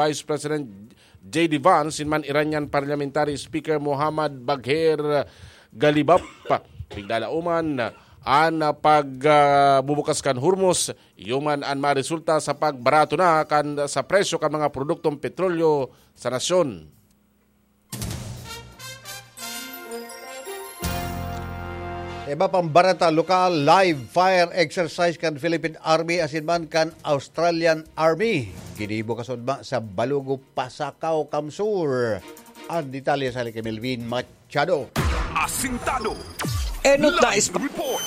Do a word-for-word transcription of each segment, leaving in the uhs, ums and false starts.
Vice President J D Vance, asin man Iranian Parliamentary Speaker Muhammad Bagher Galibaf. Piglalauman an pagbubukas kan Hormuz, iyo man an maresulta sa pagbarato na kan, sa presyo kan mga produktong petrolyo sa nasyon. Iba pang bareta lokal, live fire exercise kan Philippine Army asin man kan Australian Army. Ginibo kasudma sa Balugo, Pasacao, Kamsur. Ang detalye sa kay Melvin Machado. Asintado. Enot na Live ispa- Report.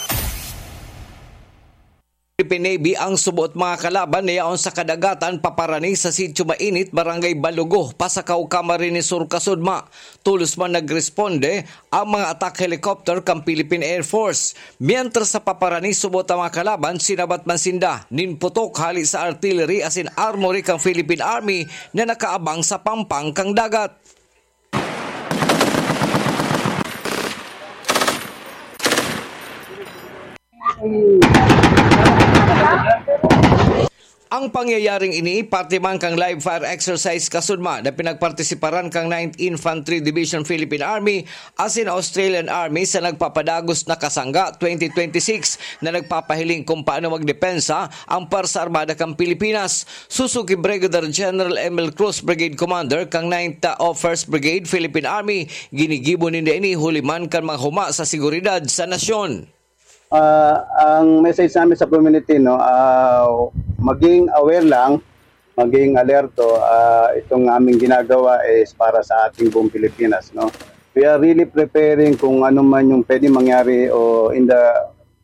Philippine Navy ang subo't mga kalaban na yaon sa kadagatan paparani sa Sitio Mainit, Barangay Balugo, Pasacao, Camarines Sur, kasudma. Tolos man nagresponde ang mga attack helicopter kan Philippine Air Force. Mientras sa paparani subo't ang mga kalaban, sinabat man sinda nin putok hali sa artillery asin armory kan Philippine Army na nakaabang sa pampang kan dagat. Ang pangyayaring ini, parte man kan live fire exercise kasudma na pinagpartisiparan kan Ninth Infantry Division Philippine Army asin Australian Army sa nagpapadagos na Kasangga twenty twenty-six na nagpapahiling kung paano magdepensa ang Pwersa Armada kan Pilipinas. Sosog ki Brigadier General Emil Cruz, Brigade Commander kan Ninth o First Brigade Philippine Army, ginigibo ninda ini huli man kan mga huma sa seguridad sa nasyon. Ah, ang message namin sa community, no, ah, maging aware lang, maging alerto. Ah, itong aming ginagawa is para sa ating buong Pilipinas, no. We are really preparing kung ano man yung pwede mangyari o in the,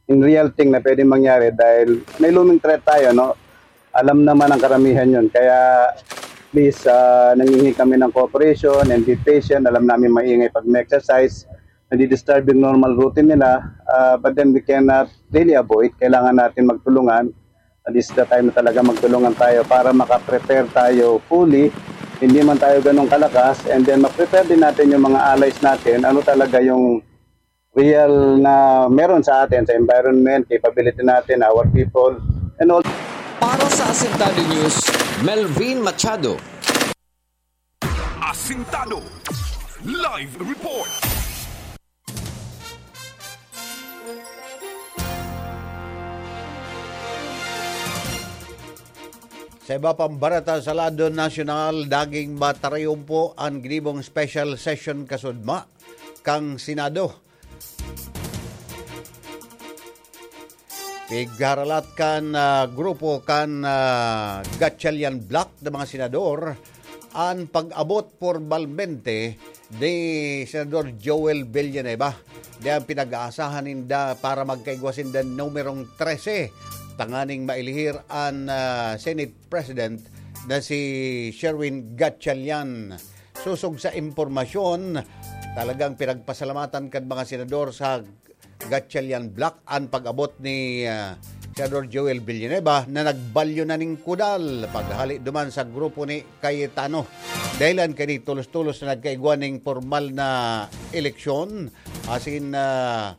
in real thing na pwede mangyari dahil may looming threat tayo, no. Alam naman ang karamihan yun. Kaya please, ah, nangihingi kami ng cooperation, invitation. Alam namin maingay pag may exercise, nadidisturb yung normal routine nila, ah, but then we cannot really avoid. Kailangan natin magtulungan. This is the time na talaga magtulungan tayo para makaprepare tayo fully. Hindi man tayo ganun kalakas, and then ma-prepare din natin yung mga allies natin. Ano talaga yung real na meron sa atin, sa environment, capability natin, our people, and all. Para sa Asintado News, Melvin Machado. Asintado Live Report. Sa iba pang bareta sa lado nasyonal, naging matarayumpo an ginibong special session kasudma kan Senado. Pigharalat kan, ah, grupo kan, ah, Gatchalian Bloc na mga senador an pag-abot pormalmente ni Senador Joel Villanueva. Diyan pinag-aasahan ninda para magkaigwa sinda numerong trese tanganing mailihir an, ah, Senate President na si Sherwin Gatchalian. Sosog sa impormasyon, talagang pinagpasalamatan kan mga senador sa Gatchalian Bloc an pag-abot ni, ah, Senador Joel Villanueva na nagbalyo na ning kudal paghali duman sa grupo ni Cayetano. Dahilan kani tolos-tolos na nagkaigwa ning pormal na eleksyon, asin, ah,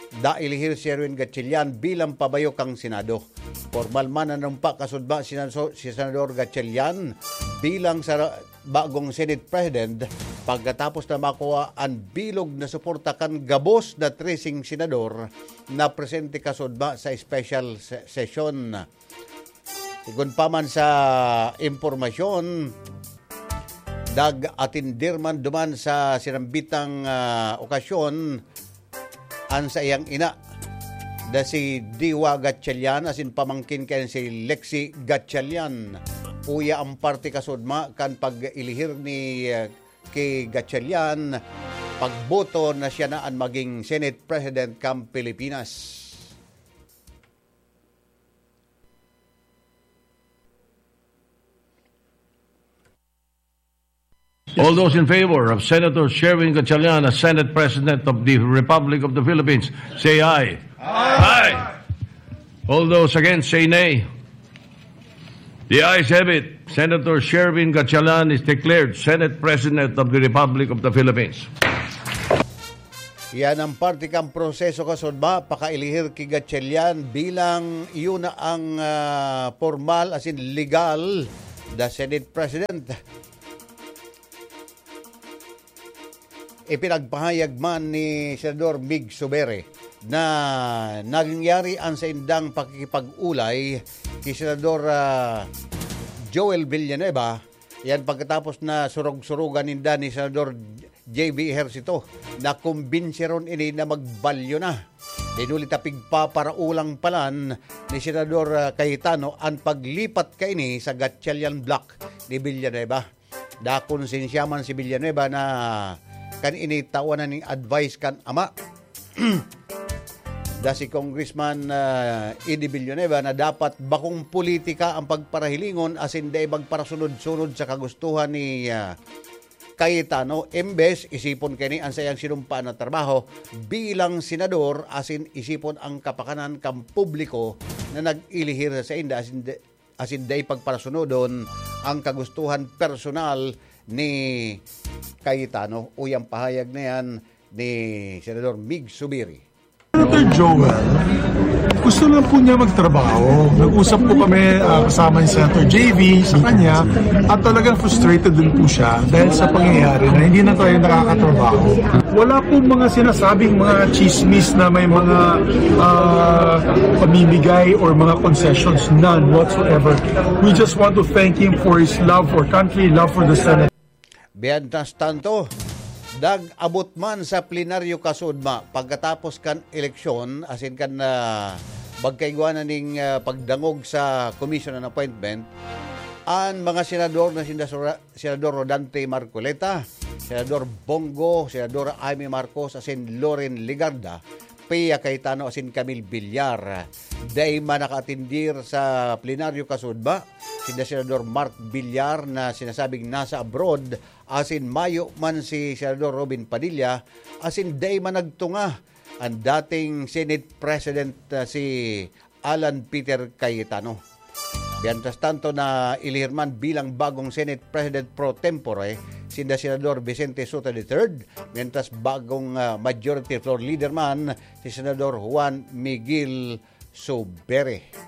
nailihir si Sherwin Gatchalian bilang pabayo kan Senado. Pormal man na nanumpa kasudma si Senso-, si Senador Gatchalian bilang sa bagong Senate President pagkatapos na makuha an bilog na suporta kan gabos na treseng senador na presente kasudma sa special se-, session. Sigon pa man sa impormasyon, nag-atindir man duman sa sinambitang, ah, okasyon an saiyang ina na si Diwa Gatchalian asin pamangkin kan si Lexi Gatchalian. Uya an parte kasudma kan pag-ilihir ni, ah, ki Gatchalian pagboto na siya na an maging Senate President kan Pilipinas. All those in favor of Senator Sherwin Gatchalian as Senate President of the Republic of the Philippines, say aye. Aye. All those against, say nay. The ayes have it. Senator Sherwin Gatchalian is declared Senate President of the Republic of the Philippines. Yan ang parte kan proseso kasudma, pakailihir ki Gatchalian bilang iyo na ang, ah, pormal asin legal the Senate President. Ipinagpahayag man ni Senador Mig Subiri na nangyari an saindang pakikipag-ulay ki Senador, ah, Joel Villanueva, yan pagkatapos na surog-surugan ninda ni Senador J V Ejercito na kumbinsiron ini na magbalyo na. Dinuli ta pigpaparaulang palan ni Senador, ah, Cayetano an paglipat kaini sa Gatchalian Block ni Villanueva. Dakon sensya man si Villanueva na kan ini tawan na ning advice kan ama. Da si Congressman, ah, Eddie Villanueva na dapat bakong politika ang pagparahilingon asin dai magparasunod-sunod sa kagustuhan ni, ah, Cayetano. Imbes, isipon kini ang sayang sinumpa na trabaho bilang senador asin isipon ang kapakanan kan publiko na nag-ilihir sa sainda asin de-, asin dai pagparasunodon ang kagustuhan personal ni Cayetano. Uy, ang pahayag na yan ni Senador Mig Subiri. Senator Joel, gusto lang po niya magtrabaho. Nag-usap po kami ah, kasama ni Senator J V sa kanya at talagang frustrated din po siya dahil sa pangyayari na hindi na tayo nakakatrabaho. Wala po mga sinasabing mga chismis na may mga ah, pamimigay or mga concessions. None whatsoever. We just want to thank him for his love for country, love for the Senate. Mientras tanto, nag-abot man sa plenaryo kasudma pagkatapos kan eleksyon, asin kan ah, pagkaigwa na ning ah, pagdangog sa commission on appointment, an mga senador na sinda sura-, Senador Rodante Marcoleta, Senador Bongo, Senador Amy Marcos, asin Loren Legarda, Pia Cayetano asin Camille Villar. Dai man nakaatendir sa plenaryo kasudma sinda Senador Mark Villar na sinasabing nasa abroad, asin mayo man si Senador Robin Padilla, asin dai man nagtunga an dating Senate President ah, si Alan Peter Cayetano. Mientras tanto, nailihir man bilang bagong Senate President pro tempore sinda Senador Vicente Sotto the third, mientras bagong ah, Majority Floor Leader man si Senador Juan Miguel Subiri.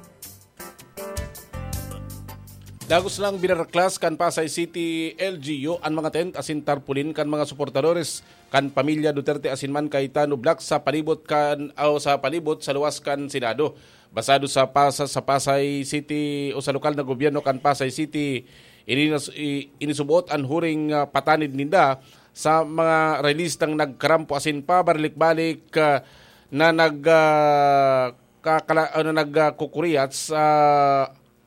Dagos lang binaraklas kan Pasay City L G U an mga tent asin tarpaulin kan mga suportadores kan pamilya Duterte asin man Cayetano Black sa palibot kan, o sa palibot sa luwas kan Senado. Basado sa pasa-, sa Pasay City o sa lokal na gobyerno kan Pasay City, ininas-, i-, inisubot an huring ah, patanid ninda sa mga relistang nagkarampo asin pabalik-balik ah, na nag ah, kakala-, ano, nagkukuriyat sa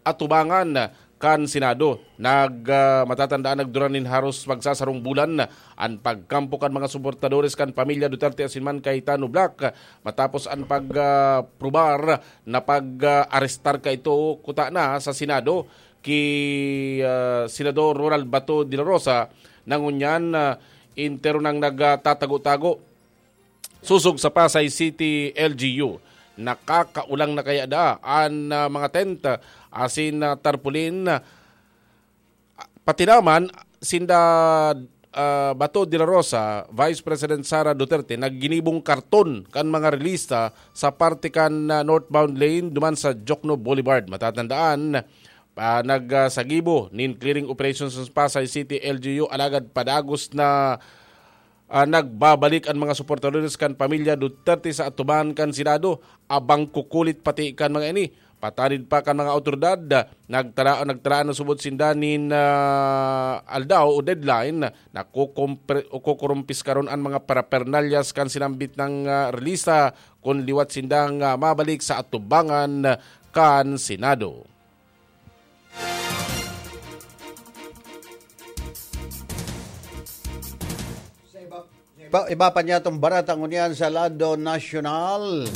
atubangan kan Senado. Nag, ah, matatandaan, nagduran nin haros magsasarong bulan an pagkampo kan mga suportadores kan pamilya Duterte asin man Cayetano Black matapos an pag, ah, prubar na pag, ah, arestar kaito kuta na sa Senado ki, ah, Senador Ronald Bato de la Rosa. Nangunyan, ah, entero nang nagtatago-tago sosog sa Pasay City L G U. Nakakaulang na kaya daa an ah, mga tent asin ah, tarpaulin? Pati naman sinda ah, Bato de la Rosa, Vice President Sara Duterte nagginibong karton kan mga relista sa parte kan ah, northbound lane duman sa Jokno Boulevard. Matatandaan, pa nagsagibo nin clearing operations sa Pasay City L G U, alagad padagos na ah, nagbabalik an mga suportadores kan pamilya Duterte sa atubangan kan Senado, abang kukulit pati kan mga ini. Patanid pa kan mga awtoridad, nagtala-, nagtalaan na subot sinda nin ah, aldaw o deadline na kukumpre-, o kukurumpiskaron an mga parapernalyas kan sinambit na ah, relista kun liwat sindang ah, mabalik sa atubangan kan Senado. Sa iba, sa iba, iba pa niya itong baratang ngunyan sa lado nasyonal.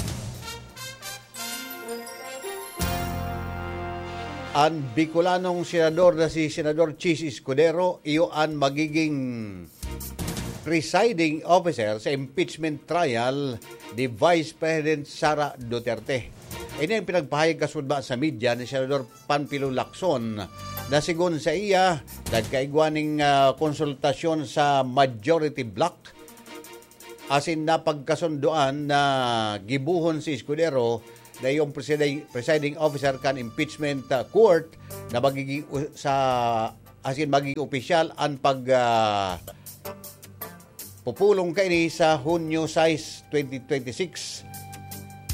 An Bicolanong senador na si Senador Chiz Escudero, iyo an magiging presiding officer sa impeachment trial ni Vice President Sara Duterte. Ini ang pinagpahayag kasudma sa media ni Senador Panfilo Lacson na sigon sa iya, nagkaigwa ning ah, konsultasyon sa majority bloc asin napagkasundoan na gibuhon si Escudero dai yung presiding, presiding officer kan impeachment, ah, court na magiging u-, sa, as in, magiging opisyal an pag, ah, pupulong kaini sa Hunyo sais, twenty twenty-six.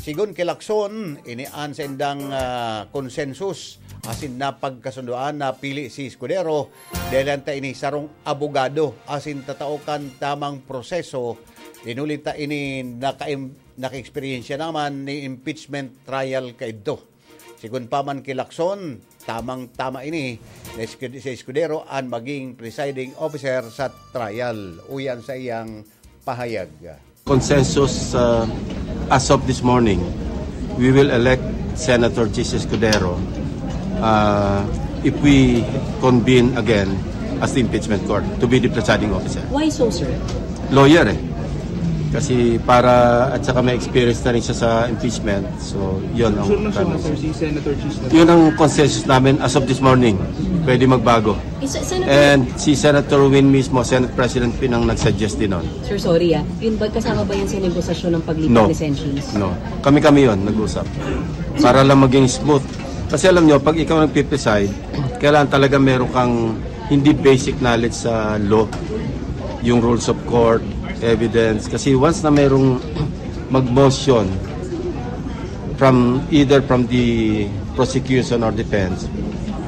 Sigon ki Lacson, ini an saindang, ah, konsensus asin napagkasundoan na pili si Escudero dahil ta ini sarong abogado asin tatao kan tamang proseso. Inuli ta ini naka-, naka-eksperyensya naman ni impeachment trial kaidto. Sigon pa man ki Lacson, tamang-tama ini na Escud-, si Escudero an maging presiding officer sa trial. Uyan sa iyang pahayag. Consensus, uh, as of this morning, we will elect Senator Chiz Escudero, uh, if we convene again as the impeachment court to be the presiding officer. Why so, sir? Lawyer eh. Kasi para, at saka may experience na rin siya sa impeachment. So, yun ang Sure na sure na, premise. Sir, si Senator Chiz na. Yun ang consensus namin as of this morning. Pwede magbago. Is, Senator And si Senator Win mismo, Senate President Pin ang nag-suggest din nun. Sir, sorry ah. Yun ba, kasama ba yan sa negosasyon ng paglipat No. ni Sen Chiz? No. Kami-kami yun, nag-usap. Para lang maging smooth. Kasi alam nyo, pag ikaw nagpipreside, kailangan talaga meron kang hindi basic knowledge sa law. Yung rules of court, evidence. Kasi once na merong mag-motion from, either from the prosecution or defense,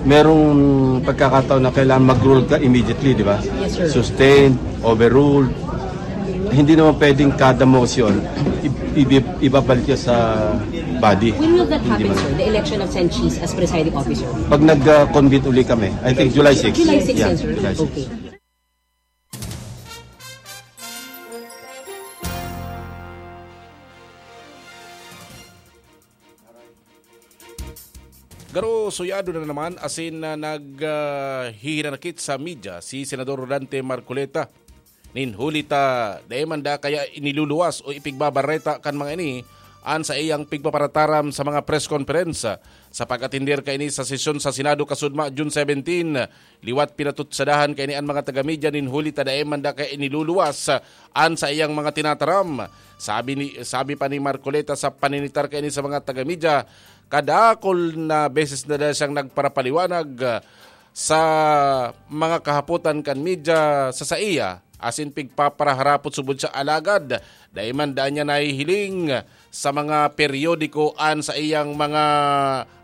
merong pagkakataon na kailangan mag-rule ka immediately, di ba? Yes, sir. Sustained, overruled. Hindi naman pwedeng kada motion, i-, i-, ibabalik ka sa body. When will that Hindi happen, man. sir? The election of Sen Chiz as presiding officer? Pag nag-convene uli kami, I think July six. July six Yeah, yan, sir. July six. Okay. Garo suyado na naman asin na nag, ah, hihinanakit sa media si Senador Rodante Marcoleta. Nin huli ta, dai man da kaya iniluluwas o ipigbabareta kan mga ini an saiyang pigpaparataram sa mga press conference. Sa pag-atender kaini sa sesyon sa Senado kasudma, June seventeen, liwat pinatutsadahan kaini an mga taga-media nin huli ta dai man da kaya iniluluwas an saiyang mga tinataram. Sabi ni, sabi pa ni Marcoleta sa paninitar kaini sa mga taga-media, kadakol na beses na da siyang nagparapaliwanag, ah, sa mga kahapotan kan media sa saiya, asin pigpaparaharapot subod siya, alagad dai man da niya nahihiling sa mga periodiko an saiyang mga,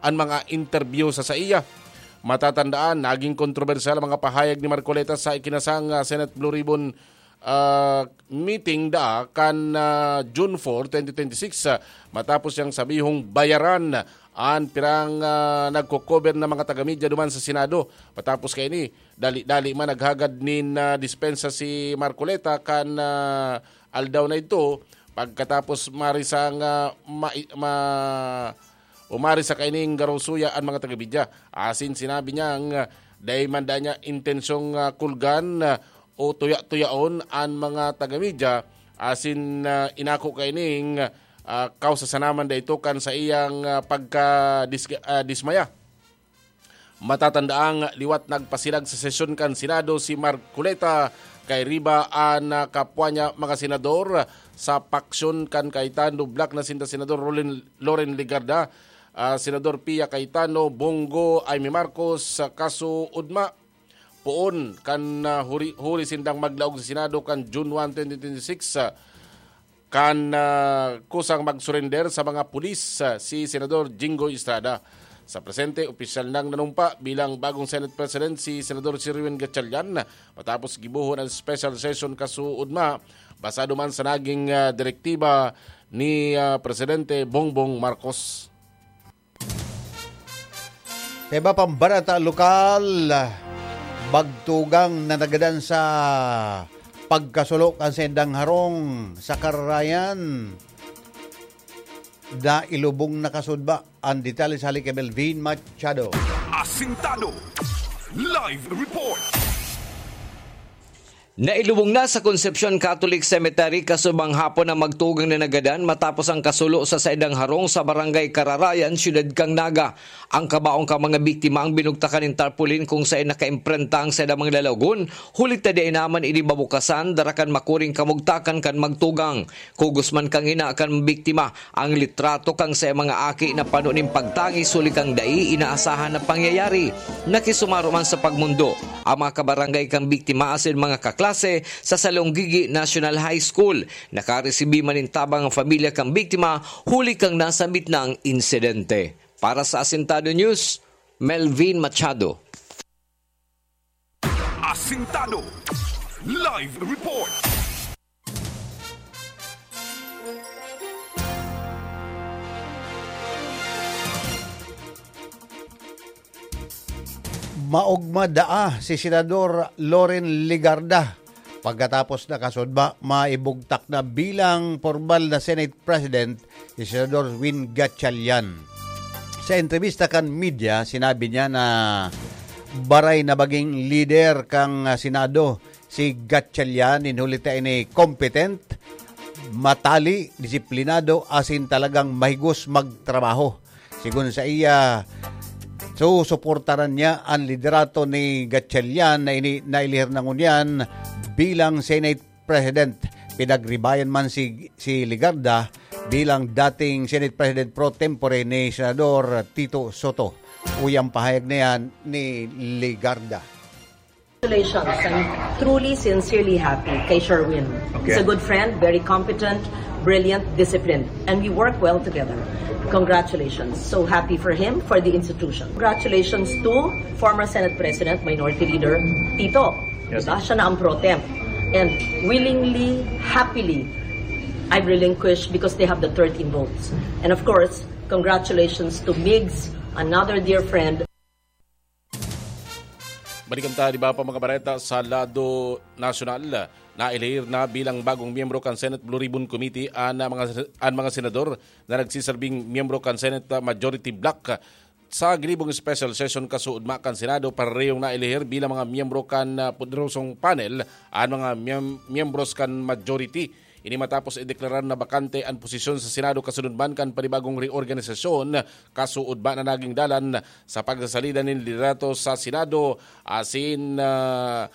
an mga interview sa saiya. Matatandaan, naging kontrobersyal ang mga pahayag ni Marcoleta sa ikinasang, ah, Senate Blue Ribbon, ah, meeting da kan, ah, June four, twenty twenty-six, ah, matapos siyang sabihong bayaran an pirang, ah, nagko-cover na mga taga-media duman sa Senado. Matapos kaini, dali-dali man naghagad nin, ah, dispensa si Marcoleta kan, ah, aldaw na idto, pagkatapos marisang, ah, ma-, ma-, umari sa kaining garo suya an mga taga-media. Asin sinabi niyang, ah, dai man da niya intensyong, ah, kulgan, ah, o tuya-tuyaon an mga taga-media, asin, ah, inako kaining, ah, kausa sana man da ito kan sa iyang, ah, pagka-, dis-, ah, dismaya. Matatandaang liwat nagpasilag sa sesyon kan Senado si Marcoleta kay riba an, ah, kapwa niya mga senador sa paksyon kan Cayetano Bloc na sinda Senador Rolen-, Loren Legarda, ah, Senador Pia Cayetano, Bongo, Imee Marcos, sa kaso Udma. Poon kan, ah, huri, huri sindang maglaog sa Senado kan June one, twenty twenty-six, ah, kan, ah, kusang mag-surrender sa mga pulis, ah, si Senador Jinggoy Estrada. Sa presente, opisyal nang nanumpa bilang bagong Senate President si Senador Sherwin Gatchalian matapos gibohon ang special session kasuodma, basado man sa naging, ah, direktiba ni, ah, Presidente Bongbong Marcos. Sa iba pang barata lokal, bagtugang na nagadan sa pagkasulo kan saindang harong sa Kararayan na ilubong na kasudba. Ang detalye sa hali kay Melvin Machado. Asintado. Live report. Nailubong na sa Concepcion Catholic Cemetery kasubang hapon ang magtugang na nagadan matapos ang kasulo sa saindang harong sa Barangay Kararayan, Siyudad kan Naga. Ang kabaong kan mga biktima ang binugtakan nin tarpaulin kung saen nakaimprenta ang saindang mga lalagon, huli ta dai naman ini mabukasan, dara kan makuring kamugtakan kan magtugang. Kugos man kan ina kan biktima, ang litrato kan saiyang mga aki na pano nin pagtangis huli kan dai inaasahan na pangyayari. Nakisumaro man sa pagmondo ang mga kabarangay kan biktima asin mga kaklase sa Salonggigi National High School. Nakaresibi man nin tabang ang pamilya kan biktima huli kan nasambit na insidente. Para sa Asintado News, Melvin Machado. Asintado Live Report. Maogma daa si Senador Loren Legarda pagkatapos na kasudma maibugtak na bilang formal na Senate President si Senador Win Gatchalian. Sa entrevista kan media, sinabi niya na baray na maging lider kan Senado si Gatchalian, nin huli ta ini competent, matali, disiplinado asin talagang mahigos magtrabaho. Sigon sa iya, susuportaran niya an liderato ni Gatchalian na ini nailihir na ngunyan bilang Senate President. Pinagribayan man si, si Legarda bilang dating Senate President pro tempore ni Senador Tito Soto. Uyang pahayag na yan ni Legarda. Congratulations. I'm truly, sincerely happy kay Sherwin. He's a good friend, very competent, brilliant, disciplined, and we work well together. Congratulations. So happy for him, for the institution. Congratulations to former Senate President, Minority Leader Tito. Yes. Diba? Siya na ang pro tem. And willingly, happily, I've relinquished because they have the thirteen votes. And of course, congratulations to Migs, another dear friend. Balikan ta, di ba, pa mga bareta sa lado nasyonal. Nailihir na bilang bagong miyembro kan Senate Blue Ribbon Committee an mga, an mga senador na nagsiserbing miyembro kan Senate Majority Bloc. Sa ginibong special session kasuodma kan Senado, parehong nailihir bilang mga miyembro kan ah, poderosong panel an mga miyem- miyembros kan majority. Ini matapos ideklarar na bakante an posisyon sa Senado kasunod man kan panibagong reorganisasyon, kasuodma na naging dalan sa pagsasalida nin liderato sa Senado asin ah,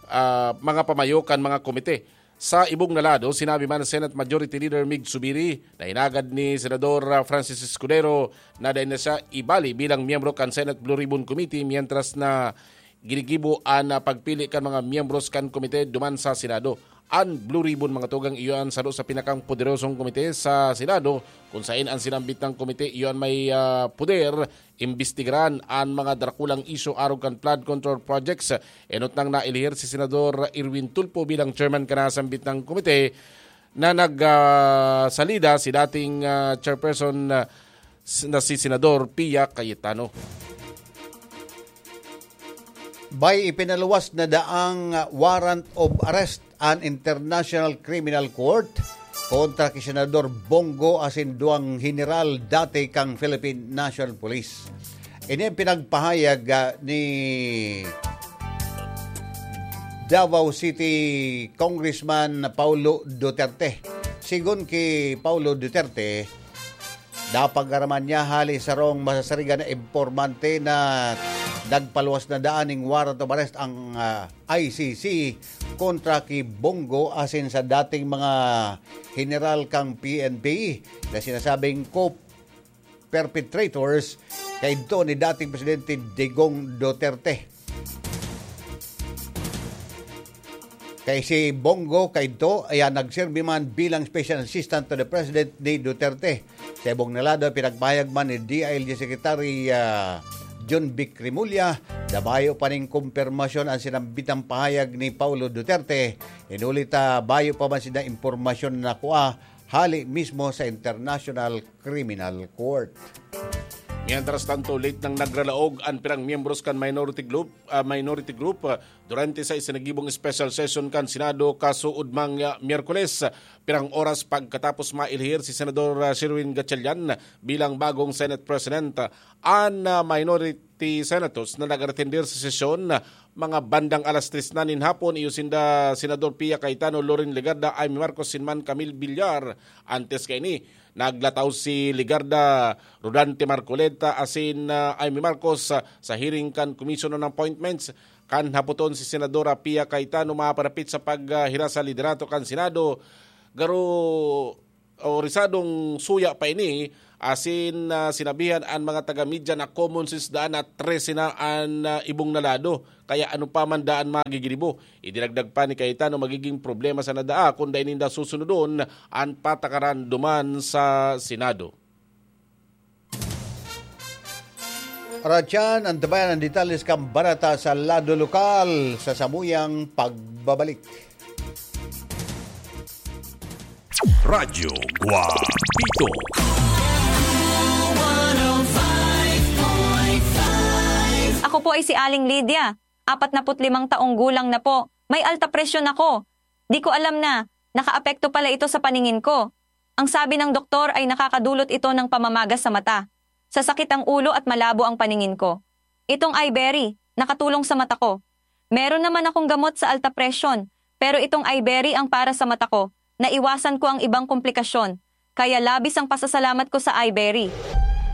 ah, mga pamayo kan mga komite. Sa ibong na lado, sinabi man ni Senate Majority Leader Mig Zubiri na hinagad ni Senador ah, Francis Escudero na dai na siya ibali bilang miyembro kan Senate Blue Ribbon Committee, mientras na ginigibo an ah, pagpili kan mga miyembros kan komite duman sa Senado. An Blue Ribbon, mga tugang, iyo an saro sa pinakang poderosong komite sa Senado, kun saen an sinambit na komite iyo an may ah, poder imbestigaran an mga drakulang isyu arog kan flood control projects. Enot nang nailihir si Senador Erwin Tulfo bilang chairman kan nasambit na komite na nagsalida si dating ah, chairperson ah, s- na si Senador Pia Cayetano. May ipinaluwas na daang warrant of arrest an International Criminal Court kontra ki Senador Bong Go asin duwang general dati kan Philippine National Police. Ini ang pinagpahayag ah, ni Davao City Congressman Paulo Duterte. Sigon ki Paulo Duterte, napag-araman niya hali sarong masasarigan na impormante na nagpaluwas na daan ning warrant of arrest ang ah, I C C kontra ki Bong Go asin sa dating mga general kan P N P na sinasabing co-perpetrators kaidto ni dating Presidente Digong Duterte. Kay si Bong Go kaidto, ayan, nagserbi man bilang special assistant to the president ni Duterte. Sa ibong na lado, pinagpahayag man ni D I L G Secretary ah, John Vic Remulla na bayo pa ning kumpirmasyon ang sinambitang pahayag ni Paulo Duterte. Hinuli ta bayo pa man sinda impormasyon na kua hali mismo sa International Criminal Court. Mientras tanto, late nang nagralaog an pirang miyembros kan minority group, ah, minority group ah, durante sa isinagibong special session kan Senado kasuodmang ah, Miyerkules. Pirang oras pagkatapos mailhir si Senador ah, Sherwin Gatchalian bilang bagong Senate President, ah, an ah, minority Senatus na nag-retender sa sesyon, mga bandang alas tres na nin hapon, iyo sinda Senador Pia Cayetano, Loren Legarda, Imee Marcos, sinman Camille Villar. Antes kaini, naglataw si Legarda, Rodante Marcoleta, asin, ah, Imee Marcos, ah, sa hearing kan Commission on Appointments. Kan hapoton si Senadora Pia Cayetano maparapit sa paghiras sa liderato kan Senado, garo o risadong suya pa ini, asin, ah, sinabihan an mga taga-media na common sense daan na trese na an, ah, ibong na lado. Kaya ano pa man daan magigiribo, idinagdag pa ni Cayetano, magiging problema sana daa kun dai ninda susunodon an patakaran duman sa Senado. Aratyan, antabayan ang detalles kan barata sa lado lokal sa samuyang pagbabalik. Radyo Guapito. Ako po ay si Aling Lydia, apat na put limang taong gulang na po. May alta presyon ako. Di ko alam na nakaapekto pala ito sa paningin ko. Ang sabi ng doktor ay nakakadulot ito ng pamamaga sa mata, sasakit ang ulo at malabo ang paningin ko. Itong Iberry, nakatulong sa mata ko. Meron naman akong gamot sa alta presyon, pero itong Iberry ang para sa mata ko. Naiwasan ko ang ibang komplikasyon, kaya labis ang pasasalamat ko sa Iberry.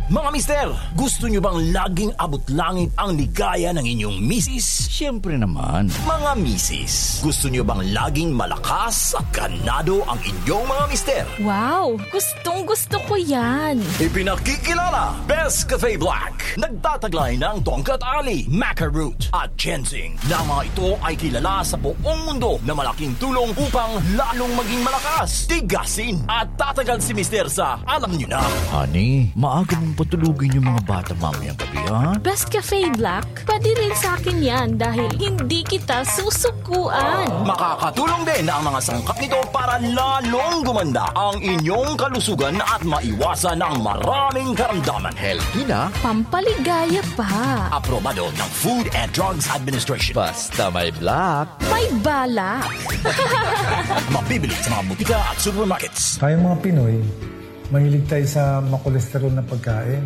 Mga mister, gusto nyo bang laging abot langit ang ligaya ng inyong misis? Siyempre naman. Mga misis, gusto nyo bang laging malakas at ganado ang inyong mga mister? Wow! Gustong gusto ko yan! Ipinakikilala, Best Cafe Black. Nagtataglay ng tongkat ali, maca root, at ginseng, na mga ito ay kilala sa buong mundo na malaking tulong upang lalong maging malakas, tigasin, at tatagal si mister sa alam nyo na. Honey, maaga mong patulugin yung mga bata mamayang gabi, ha? Best Cafe Black, pwede rin sa akin yan dahil hindi kita susukuan. Makakatulong din ang mga sangkap nito para lalong gumanda ang inyong kalusugan at maiwasan ang maraming karamdaman. Healthy na. Pampaligaya pa. Aprobado ng Food and Drugs Administration. Basta may black. May balak. Mabibili sa mga butika at supermarkets. Tayong mga Pinoy, mahilig tayo sa makolesterol na pagkain.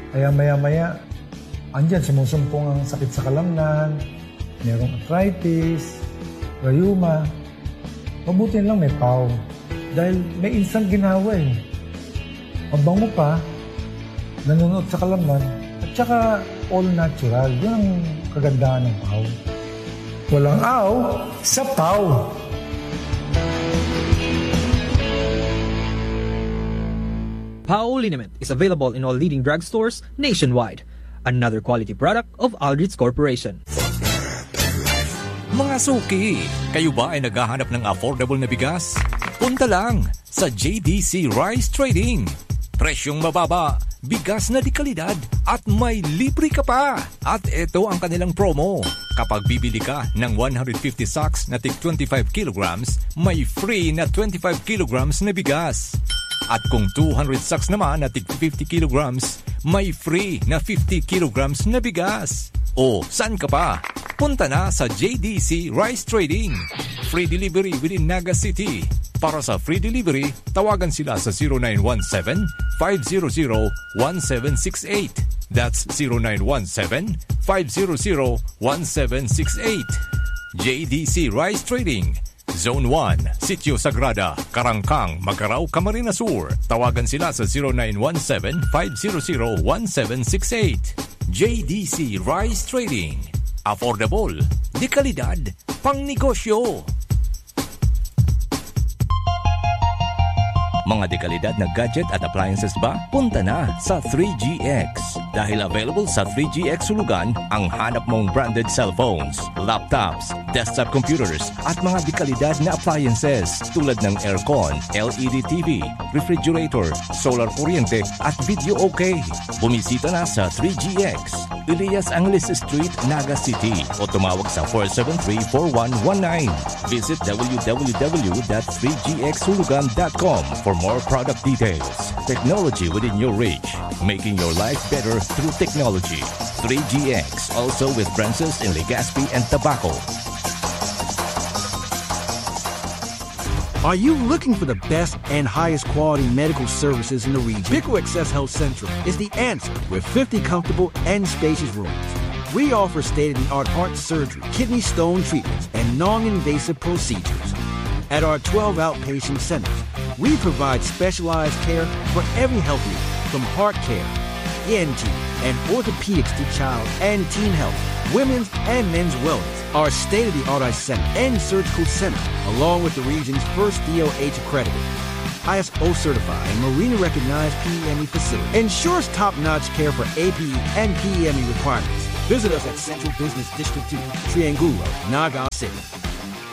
Kaya maya-maya, andyan, sumusumpong ang sakit sa kalamnan, merong arthritis, rayuma. Mabuti lang may pau. Dahil may instant ginhawa eh. Mabango pa, nanunuot sa kalamnan, at saka all natural. Yun ang kagandahan ng pau. Walang aw sa pau. Pau liniment is available in all leading drugstores nationwide. Another quality product of Aldrich Corporation. Mga suki, kayo ba ay naghahanap ng affordable na bigas? Punta lang sa J D C Rice Trading. Presyong mababa, bigas na de kalidad, at may libre ka pa! At eto ang kanilang promo. Kapag bibili ka ng one hundred fifty sacks na tig twenty-five kilograms, may free na twenty-five kilograms na bigas. At kung two hundred sacks naman na tig fifty kilograms, may free na fifty kilograms na bigas. O, saan ka pa? Punta na sa J D C Rice Trading. Free delivery within Naga City. Para sa free delivery, tawagan sila sa zero nine one seven, five zero zero, one seven six eight. That's zero nine one seven, five zero zero, one seven six eight. J D C Rice Trading, Zone one, Sitio Sagrada, Karangkang, Magarao, Camarines Sur. Tawagan sila sa zero nine one seven, five zero zero, one seven six eight. J D C Rice Trading. Affordable, de kalidad, pang negosyo. Mga dekalidad na gadget at appliances ba? Punta na sa three G X. Dahil available sa three G X Hulugan ang hanap mong branded cellphones, laptops, desktop computers, at mga dekalidad na appliances tulad ng aircon, L E D T V, refrigerator, solar kuryente, at video okay. Bumisita na sa three G X, Elias Angeles Street, Naga City, o tumawag sa four seven three, four one one nine. Visit w w w dot three g x hulugan dot com for more product details. Technology within your reach, making your life better through technology. Three G X, also with branches in Legazpi and Tabaco. Are you looking for the best and highest quality medical services in the region? Pico Access Health Central is the answer with fifty comfortable and spacious rooms. We offer state-of-the-art heart surgery, kidney stone treatments, and non-invasive procedures. At our twelve outpatient centers, we provide specialized care for every health need, from heart care, E N T, and orthopedics to child and teen health, women's and men's wellness. Our state-of-the-art eye center and surgical center, along with the region's first D O H accredited, I S O certified, and Marina recognized P E M E facility, ensures top-notch care for A P E and P E M E requirements. Visit us at Central Business District two, Triangulo, Naga City.